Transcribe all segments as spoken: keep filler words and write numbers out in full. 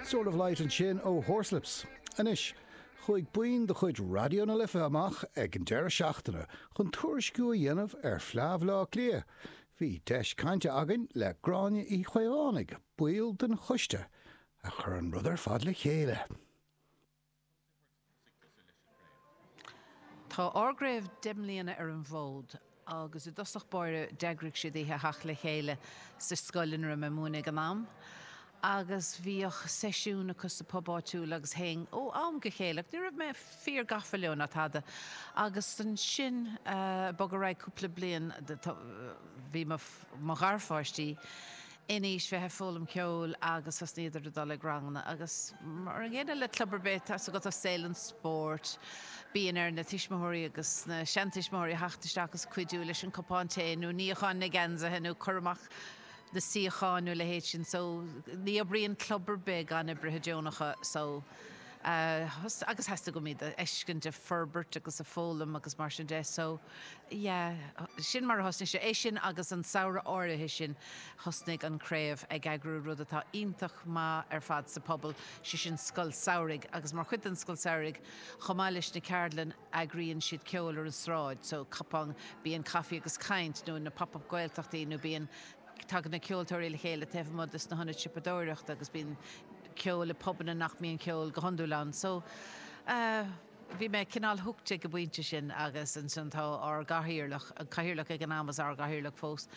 Sword of Light ansin ó Horslips. Anois, chuaigh buíon de chuid Raidió na Life amach ag an deireadh seachtaine chun tuairisciú a dhéanamh ar Fleadh Bhaile Átha Cliath. Bhí deis cainte againn le Gráinne Uí Chaolánaigh, ball den choiste, a chuir an rud ar fad le chéile. Tá ár gcraobh deich mbliana ar an bhfód agus i dtosach báire d'eagraigh siad oíche theacht le chéile sa scoil ina raibh mé ag múineadh ag an am agus bhíodh seisiún acu sa pub áitiúil agus théinn ó am go chéile ach ní raibh mé fíor gafa leo ná tada agus ansin bogadh ar aghaidh cúpla bliain bhí mo mo gharpháistí in aois bheith ag foghlaim ceoil agus thosnaíodar ag dul ag ranganna agus mar an gcéanna le club ar bith, tá 's agat i saol an spóirt, bíonn ar na tuismitheoirí agus na seantuismitheoirí theacht isteach agus cuidiú leis an cupán tae nó níochán na geansaithe nó cur amach na suíocháin nó a leithéid sin so ní oibríonn club ar bith gan oibrithe deonacha so agus theastaigh uaim iad a fheiscint ag forbairt agus ag foghlaim agus mar sin de so yeah sin mar a thosnaigh sé. É sin agus an samhradh áirithe sin thosnaigh an craobh ag eagrú rud atá iontach maith ar fad sa pobal, sé sin scoil samhraidh agus mar chuid den scoil samhraidh chomh maith leis na ceardlann eagraíonn siad ceol ar an sráid so cupán bíonn caife agus caint nó na pop-up Gaeltachtaí nó bíonn tagann na ceoltóirí le chéile taobh amuigh de sna hionaid siopadóireachta agus bíonn ceol i pubanna nach mbíonn ceol go hiondúil ann. So eh bhí mé cineál hooked ag an bpointe sin agus ansin tá ár gcathaoirleach, an cathaoirleach ag an am is ár gcathaoirleach fós,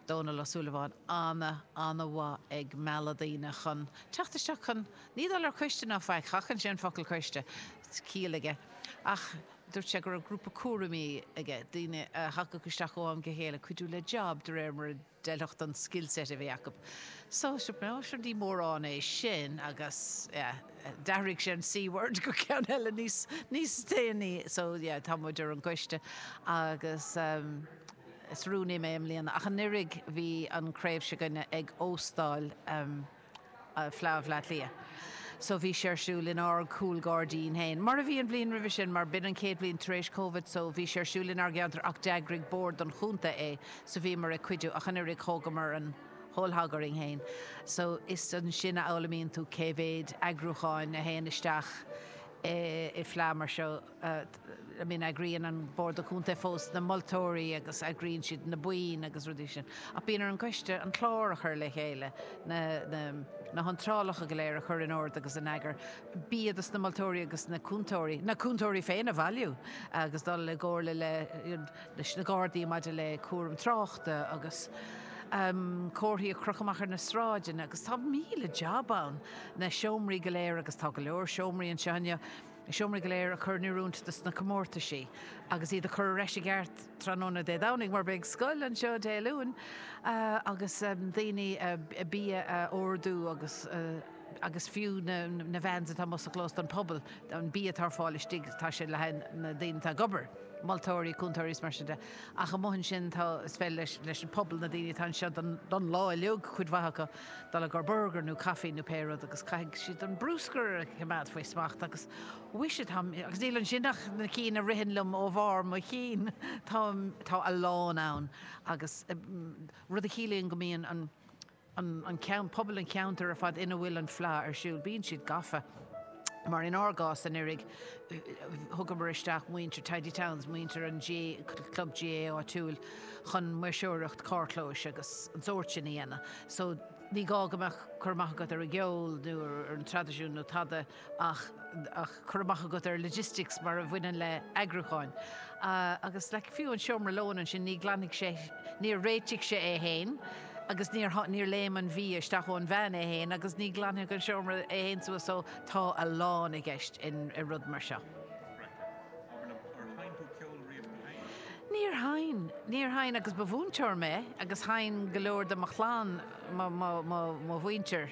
Dónal Ó Súilleabháin, ana, ana-mhaith ag mealladh daoine chun teacht isteach chun, ní dul ar choiste ná faic, sheachain sé an focal coiste, ciall aige, ach dúirt sé go raibh grúpa cúraimí aige, daoine a thagadh isteach ó am go chéile cuidiú le job de réir mar a d'fheilfeadh don skill set a bhí acu. So, sure, no, sure ní mórán é sin agus, yeah, d'athraigh sé an C-word go ceann eile níos, níos déanaí. So, yeah, tá muid ar an gcoiste agus um, is rúnaí mé i mbliana. Ach anuraidh bhí an craobh s'againne ag óstáil um, Fleadh Bhaile Átha Cliath. So bhí sé ar siúl in ár gcúlghairdín féin. Mar a bhí an bhliain roimhe sin, mar b'in an chéad bhliain tar éis Covid so bhí sé ar siúl inár gceantar ach d'eagraigh bord an chontae é so bhíomar ag cuidiú ach anuraidh thógamar an whole hog orainn féin. So is ansin a fhoghlaimíonn tú cé mhéad eagrúcháin a théann isteach i fleadh mar seo. I mean eagraíonn an Bord Contae fós na moltóirí agus eagraíonn siad na boinn agus rudaí sin. Ach bíonn ar an gcoiste an clár a chur le chéile, na, na, na hiontrálacha go léir a chur in ord agus in eagar, bia dos na moltóirí agus na cúntóirí, na cúntóirí féin a bhailiú agus dul i gcomhairle le, leis na Gardaí maidir le cúram tráchta agus um, comharthaí a chrochadh amach ar na sráideanna agus tá míle jab ann, na seomraí go léir agus tá go leor seomraí anseo inniu, na seomraí go léir a chur in oiriúint dos na comórtaisí agus iad a chur ar ais i gceart tráthnóna Dé Domhnaigh mar beidh scoil anseo Dé Luain agus daoine bia a ordú agus agus fiú na na vans atá amuigh sa chlós don pobal, an bia atá ar fáil istigh tá sé le haghaidh na daoine atá ag obair, moltóirí, cúntóirí is mar sin de. Ach amuigh ansin tá, is féidir leis leis an pobal, na daoine atá anseo don don lá uilig, cuid mhaith acu, dul i gcomhair burger nó caife nó pé rud agus caithfidh siad an bruscar a choimeád faoi smacht agus mhuise tá, agus níl ansin ach na cinn a ritheann liom ó bharr mo chinn, tá tá a lán ann agus rud a chiallaíonn go mbíonn an an an ceann, pobal an cheantair ar fad ina bhfuil an fleá ar siúl, bíonn siad gafa. Mar in ár gcás anuraidh, thugamar isteach muintir Tidy Towns, muintir an GAA, club GAA áitiúil chun maoirseoireacht carrchlóis agus an sórt sin a dhéanamh. So ní gá go mbeadh cur amach agat ar an gceol nó ar an traidisiún nó tada ach ach cur amach agat ar logistics mar a bhaineann le eagrúcháin. Agus like fiú an seomra lóin ansin ní ghlanfaidh sé, níor réitigh sé é fhéin agus níor níor léim an bia isteach ón veain é fhéin agus ní ghlanfaidh an seomra é fhéin suas so tá a lán i gceist in i rud mar seo. Níor sheinn, níor sheinn agus ba mhúinteoir mé agus sheinn go leor de mo chlann, mo, mo, mo, mo mhuintir,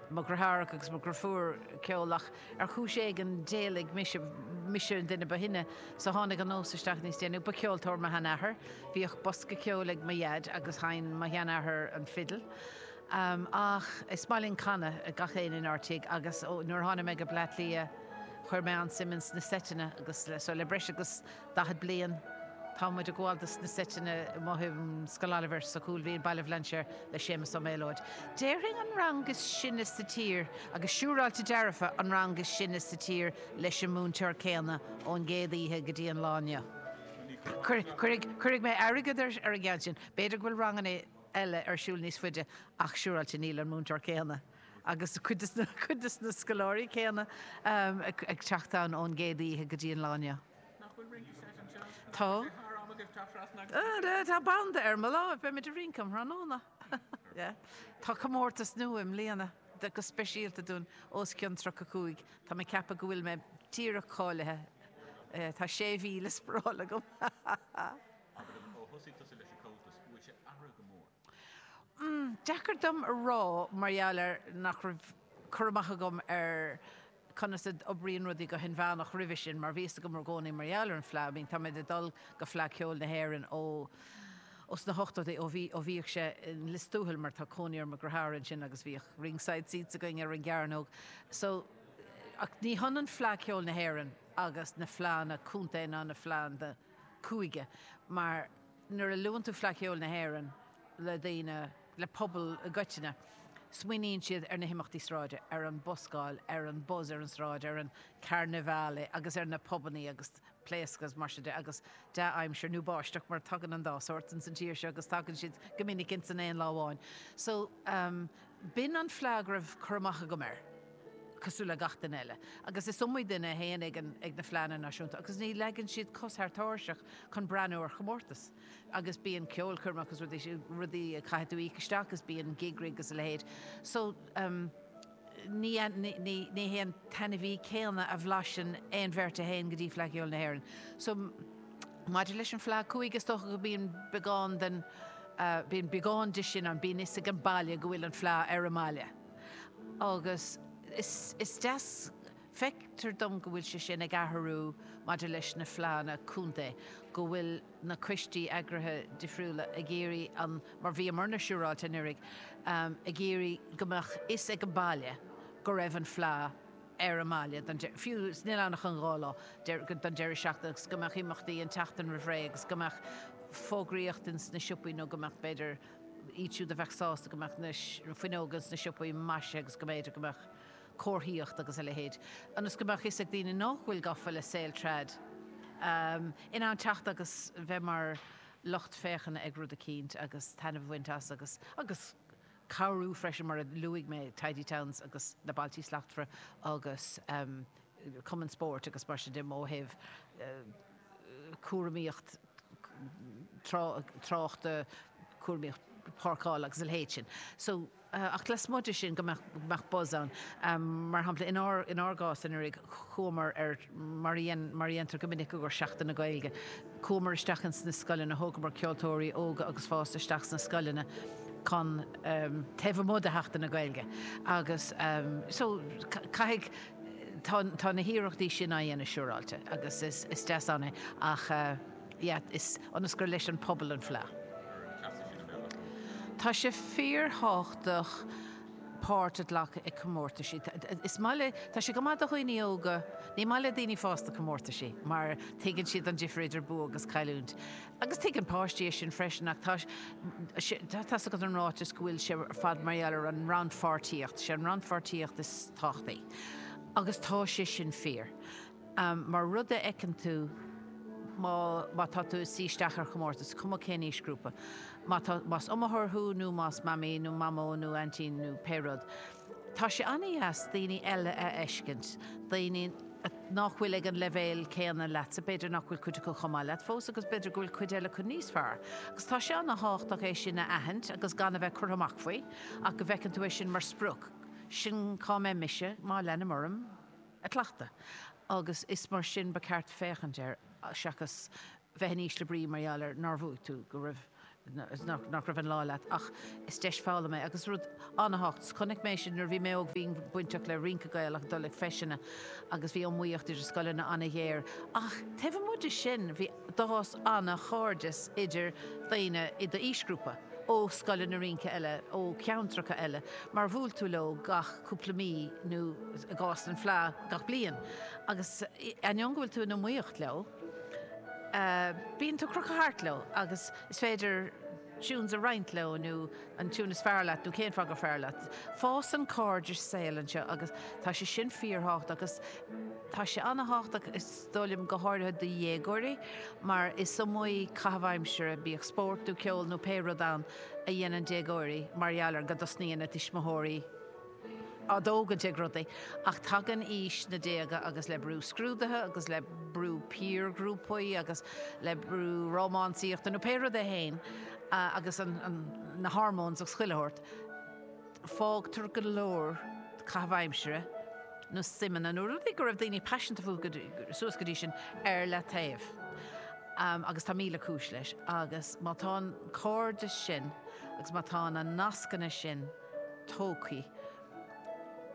mo dheartháireacha agus mo dheirfiúr ceol ach ar chúis éigin d'éalaigh mise, mise an duine ba shine so tháinig an nós isteach níos déanaí. Ba cheoltóir mo sheanathair, bhíodh bosca ceoil ag mo dhaid agus sheinn mo sheanathair an fidil. Ach is maith linn canadh, gach éinne inár dtigh agus ó nuair a tháinig mé go Bleá Cliath chuir mé an-suim ins na seiteanna agus so le breis agus daichead bliain Tá muid ag gabháil dos na seiteanna amuigh i Scoil Oilibhéir sa Chúil Mhí, Baile Bhlainséir le Séamus Ó Méalóid. Déarfainn an rang is sine sa tír agus siúráilte dearfa an rang is sine sa tír leis an múinteoir céanna ón gcéad oíche go dtí an lá inniu. Cuirfidh mé airgead ar an gceann sin. B'fhéidir go bhfuil ranganna eile ar siúl níos faide ach siúráilte níl an múinteoir céanna agus cuid de na scoláirí céanna ag teacht ann ón gcéad oíche go dtí an lá inniu. Nach bhfuil rince seit anseo? Tá. Tá banda ar mo láimh, beimid ag rince um thráthnóna. Tá comórtas nua i mbliana go speisialta dúinn os cionn tríocha cúig. Tá mé ag ceapadh go bhfuil mé díreach cáilithe. Tá sé mhí le spáráil agam. Ó thosaigh tusa leis an Comhaltas, bhfuil sé athraithe go mór? Deacair dom a rá mar gheall ar nach raibh cur amach agam ar conas a oibríonn rudaí go hinmheánach roimhe sin, mar bhí fhios agam i gcónaí mar gheall ar an Fleadh. I mean, tá mé ag dul go Fleadh Cheoil na hÉireann ó os na hochtóidí ó bhí ó bhíodh sé in Lios Tuathail mar tá cónaí ar mo dheartháir ansin agus bhíodh ringside seats againn ar an gcearnóg. So, ach ní hionann Fleadh Cheoil na hÉireann agus na fleánna contae ná na fleánna cúige, mar nuair a luann tú Fleadh Cheoil na hÉireann le daoine, le pobal i gcoitinne, smaoiníonn siad ar na himeachtaí sráide, ar an buscáil, ar an buzz ar an sráid, ar an carnivale agus ar na pubannaí agus pléascadh agus mar sin de agus dea-aimsir nó báisteach mar tagann an dá sórt ins an tír seo agus tagann siad go minic ins an aon lá amháin. So um, b'in an fleadh go raibh cur amach agam air cosúil le gach duine eile. Agus is iomaí duine a théann ag an, ag na fleánna náisiúnta agus ní leagann siad cos thar tairseach chun breathnú ar chomórtas. Agus bíonn ceolchoirm agus rudaí, rudaí a chaithfidh tú íoc isteach agus bíonn gig rig agus a leithéid. So um, ní, ní, ní, ní hé an taitneamh céanna a bhlaiseann aon bheirt a théann go dtí Fleadh Cheoil na hÉireann. So maidir leis an Fleadh Cúige is dócha go bíonn beagán den uh, bíonn beagán de sin ann, bíonn fhios ag an baile go bhfuil an Fleadh ar an mbaile. Agus is, is deas feictear dom go bhfuil sé sin ag athrú maidir leis na fleánna contae, go bhfuil na coistí eagraithe difriúla ag iarraidh an mar bhíomarna siúráilte anuraidh, um, ag iarraidh go mbeadh fhios ag an baile go raibh an Fleadh ar an mbaile don de- fiú níl ann ach an dhá lá don deireadh seachtaine agus go mbeadh imeachtaí an tseachtain roimh ré agus go mbeadh fógraíocht ins na siopaí nó go mbeadh b'fhéidir iad siúd a bheadh sásta go mbeadh na fuinneoga ins na siopaí maisithe agus go mb'fhéidir go mbeadh comharthaíocht agus a leithéid. Ionas go mbeadh fhios ag daoine nach bhfuil gafa le saol trad. Um, in ann teacht agus bheith mar lucht féachana ag rud eicínt agus taitneamh a bhaint as agus agus cabhrú freisin mar a luaigh mé Tidy Towns agus na Bailte Slachtmhara agus um, Cumann Spóirt agus mar sin de ó thaobh uh, cúramaíocht tráchta cúramaíocht páirceála agus a leithéid sin. So uh, ach lasmuigh de sin go mbeadh buzz ann. Um, mar shampla inár inár gcás anuraidh chuamar ar mar mar dhéantar go minic gur Seachtain na Gaeilge. Chuamar isteach sna scoileanna thógamar ceoltóirí óga agus fásta isteach sna scoileanna chun um, taobh amuigh de Sheachtain na Gaeilge. Agus um, so caithfidh tá, tá na hiarrachtaí sin á dhéanamh siúráilte agus is, is deas ann é ach uh, yeah, is ionas gur leis an pobal an Fleadh. Tá sé fíorthábhachtach páirt a ghlacadh i comórtaisí. Is maith le tá sé go maith do dhaoine óga, ní maith le daoine fásta comórtaisí, mar tuigeann siad an difear idir bua agus cailliúint. Agus tuigeann páistí é sin freisin ach tá tá go an ráiteas go bhfuil sé ar fad mar gheall ar an rannpháirtíocht, sé an rannpháirtíocht is tábhachtaí. Agus tá sé sin fíor. Um, mar rud a fheiceann tú má, má tá tú suí isteach ar chomórtas, cuma cén aoisghrúpa. Má tá, más iomaitheoir thú nó más mamaí nó mamó nó aintín nó pé rud. Tá sé an-deas daoine eile a fheiscint, daoine nach bhfuil ag an leibhéal céanna leatsa, b'fhéidir nach bhfuil cuid acu chomh maith leat fós agus b'fhéidir go bhfuil cuid eile acu níos fearr. Agus tá sé an-tábhachtach é sin a aithint agus gan a bheith curtha amach faoi, ach go bhfeiceann tú é sin mar sprioc. Sin cá mbeidh mise má leanaim orm ag cleachtadh. Agus is mar sin ba cheart féachaint air seachas bheith in ísle brí mar gheall ar nár bhuaigh tú go raibh nach, nach raibh an lá leat ach is deis foghlama é agus rud an-tábhachtach. Chonaic mé sin nuair bhí mé óg bhí bainteach le rince Gaelach dul ag feiseanna agus bhí iomaíocht idir scoileanna an-ghéar. Ach taobh amuigh de sin bhí d'fhás an-chairdeas idir daoine i d'aoisghrúpa ó scoileanna rince eile, ó cheantracha eile, mar bhuail tú leo gach cúpla mí nó i gcás an Fleadh gach bliain. Agus ainneoin go bhfuil tú in iomaíocht leo, Bíonn tú ag crochadh thart leo agus is féidir tunes a roinnt leo nó an tune is fearr leat nó cén fáth gur fearr leat. Fásann cairdeas saoil anseo agus tá sé sin fíorthábhachtach agus tá sé an-tábhachtach is dóigh liom go háirithe do dhéagóirí mar is iomaí caitheamh aimsire bíodh spórt nó ceol nó pé rud ann a dhéanann déagóirí mar gheall ar go dtosnaíonn a dtuismitheoirí á dtógaint ag rudaí, ach tagann aois na déaga agus le brú scrúduithe agus le brú piarghrúpaí agus le brú rómánsaíochta nó pé rud é féin agus na hormones agus chuile shórt, fágtar go leor caitheamh aimsire nó suimeanna nó rudaí go raibh daoine paiseanta fúthu suas go dtí sin ar leataobh. Agus tá míle cúis leis. Agus má tá an cairdeas sin agus má tá na nascanna sin tógtha,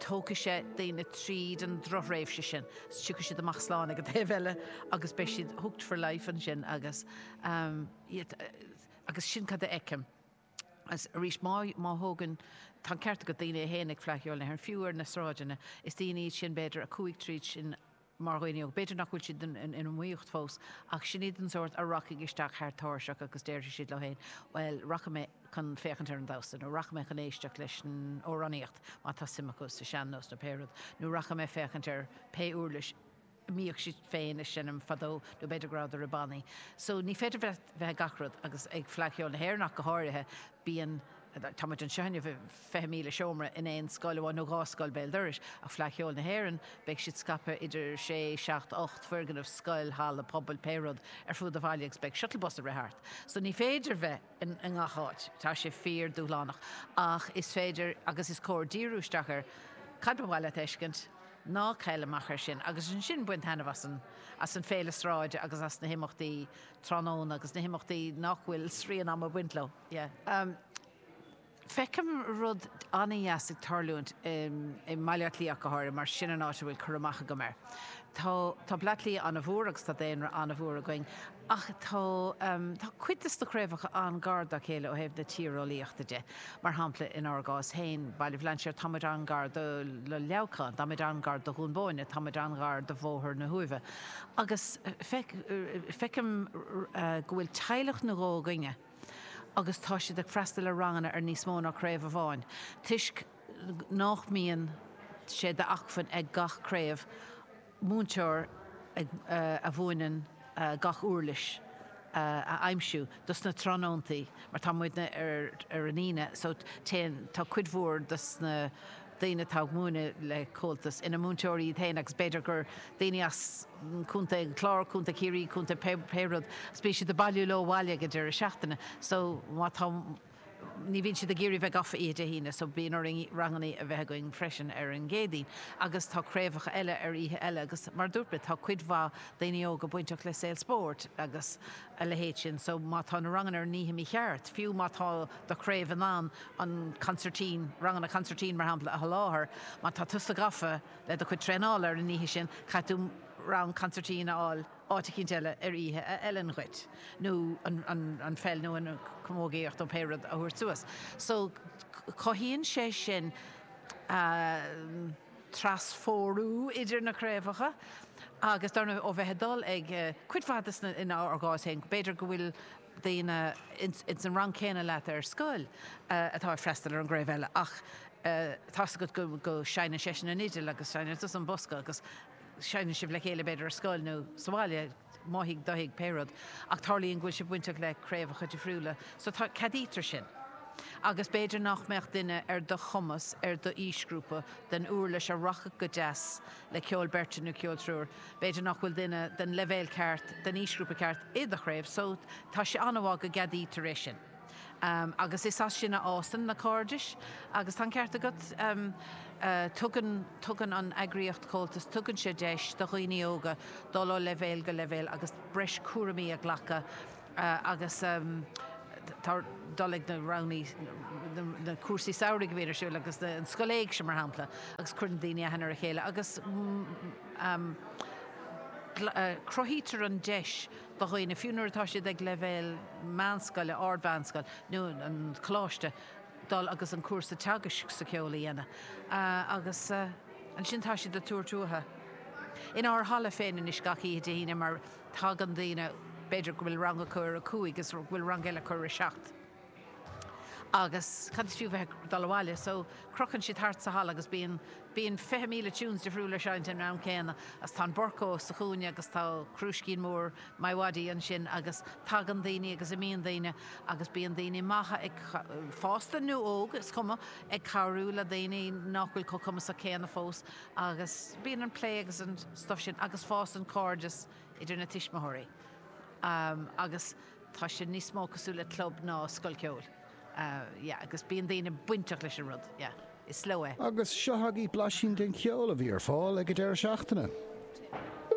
tógfaidh sé daoine tríd an drochthréimhse sin, is tiocfaidh siad amach slán ag an taobh eile agus beidh siad hooked for life ansin agus agus sin cad a fheicim. Agus arís má má thógann, tá an ceart agat daoine a théann ag Fleadh Cheoil na hÉireann, fiú ar na sráideanna, is daoine iad sin b'fhéidir a chuaigh tríd sin mar dhaoine óga, b'fhéidir nach bhfuil siad in iomaíocht fós, ach sin iad an sórt a rachaidh isteach thar tairseach agus déarfaidh siad leo féin, bhuel, rachaidh mé chun féachaint ar an damhsa, nó rachaidh mé chun éisteacht leis an amhránaíocht, má tá suim acu sa sean-nós nó pé rud, nó rachaidh mé féachaint ar pé uirlis a mbíodh siad féin ag seinm fadó, nó b'fhéidir go rabhadar i bannaí. So ní féidir bheith ag gach rud, agus ag Fleadh Cheoil na hÉireann ach go háirithe, bíonn. Tá muid anseo inniu i fiche míle seomra in aon scoil amháin nó dhá scoil béal dorais, ach Fleadh Cheoil na hÉireann, beidh siad scaipthe idir sé, seacht, ocht foirgneamh, scoil, halla pobail, pé rud, ar fud an bhaile agus beidh shuttle bus ag rith thart. So ní féidir bheith i ngach áit, tá sé fíor-dúshlánach. Ach is féidir agus is cóir díriú isteach ar cad ba mhaith leat a fheiscint, ná caill amach ar sin agus ansin bain taitneamh as an as an féile sráide agus as na himeachtaí tráthnóna agus na himeachtaí nach bhfuil srian ama ag baint leo. Yeah. Feicim rud an-dheas ag tarlúint i mBaile Átha Cliath ach go háirithe, mar sin an áit a bhfuil cur amach agam air. Tá tá Baile Átha Cliath an-mhór agus tá daonra an-mhór againn ach tá tá cuid de na craobhacha an-gar dá chéile ó thaobh na tíreolaíochta de. Mar shampla, inár gcás féin, Baile Bhlainséir, tá muid an-gar do Leamhcán, tá muid an-gar do Dhún Bóinne, tá muid an-ghar do Bhóthar na hUaimhe. Agus feicim go bhfuil teaghlach nó dhó againne, agus tá siad ag freastal ar ranganna ar níos mó ná craobh amháin, toisc nach mbíonn sé d'acmhainn ag gach craobh múinteoir a mhúineann gach uirlis a aimsiú dos na tráthnóntaí, mar tá muidne ar ar an Aoine, so téann, tá cuid mhór dos na daoine atá ag múineadh le Comhaltas ina múinteoirí iad féin agus b'fhéidir gur daoine as Contae an Chláir, Contae Chiarraí, Contae pé rud agus bíonn siad ag bailiú leo abhaile ag an deireadh seachtaine so má tá ní bhíonn siad ag iarraidh bheith gafa oíche Dé hAoine so bíonn orainn ranganna a bheith againn freisin ar an gCéadaoin agus tá craobhacha eile ar oíche eile agus mar a dúirt mé tá cuid mhaith daoine óga bainteach le saol spóirt agus a leithéid sin so má tá na ranganna ar an oíche mícheart fiú má tá do chraobh in ann an consairtín, ranganna consairtín mar shampla, a sholáthar, má tá tusa gafa le do chuid traenála ar an oíche sin, caithfidh tú rang consairtín a fháil áit eicínt eile ar oíche a fheileann dhuit, nó an pheil nó an chamógaíocht nó pé rud a thabhairt suas. So, cothaíonn sé sin trasphórú idir na craobhacha agus dar ndóigh ó bheith ag dul ag cuid mhaith de na, inár gcás féin, b'fhéidir go bhfuil daoine ins an rang céanna leat ar scoil atá ag freastal ar an gcraobh eile ach tá's agat go go seinneann seisean an fhidil agus seinneann tusa an bosca agus seinneann sibh le chéile b'fhéidir ar scoil nó sa bhaile, mo thigh, do thigh, pé rud, ach tarlaíonn go bhfuil sibh bainteach le craobhacha difriúla so tá, ceadaítear sin. Agus b'fhéidir nach mbeadh duine ar do chumas ar do aoisghrúpa den uirlis a rachadh go deas le ceol beirte nó ceol triúir, b'fhéidir nach bhfuil duine den leibhéal ceart, den aoisghrúpa ceart i do chraobh so tá sé an-mhaith go gceadaítear é sin. Agus is as sin a fhásann na cairdis agus tá an ceart agat, tugann, tugann an eagraíocht Comhaltas, tugann sé deis do dhaoine óga dul ó leibhéal go leibhéal agus breis cúraimí a ghlacadh agus tá dul ag na ranganna, na cúrsaí samhraidh a bhíonn ar siúl agus an scoil éigse mar shampla agus cuireann daoine aithne ar a chéile agus cruthaítear an deis do dhaoine, fiú nuair atá siad ag leibhéal meánscoile, ard-mheánscoil nó an coláiste, dul agus an cúrsa teagaisc sa cheol a dhéanamh agus ansin tá siad ag tabhairt uathu. Inár halla féin anois gach oíche Dé hAoine mar tagann daoine, B'fhéidir go bhfuil rang acu ar a cúig agus go bhfuil rang eile acu ar a seacht. Agus cad is fiú bheith ag dul abhaile, so crochann siad thart sa halla agus bíonn bíonn fiche míle tunes difriúla ar seinnt an am céanna agus tá an Burco sa chúinne agus tá crúiscín mór MiWadi ansin agus tagann daoine agus imíonn daoine agus bíonn daoine maithe ag fásta nó óg, is cuma, ag cabhrú le daoine nach bhfuil chomh cumasach céanna fós agus bíonn an plé agus an stuff sin agus fásann cairdeas idir na tuismitheoirí. Um, agus tá sé níos mó cosúil le club ná scoil ceoil. Uh, yeah, agus bíonn daoine bainteach leis an rud, yeah. Is leo é. Agus seo agaibh blaisín den cheol a bhí ar fáil ag an deireadh seachtaine.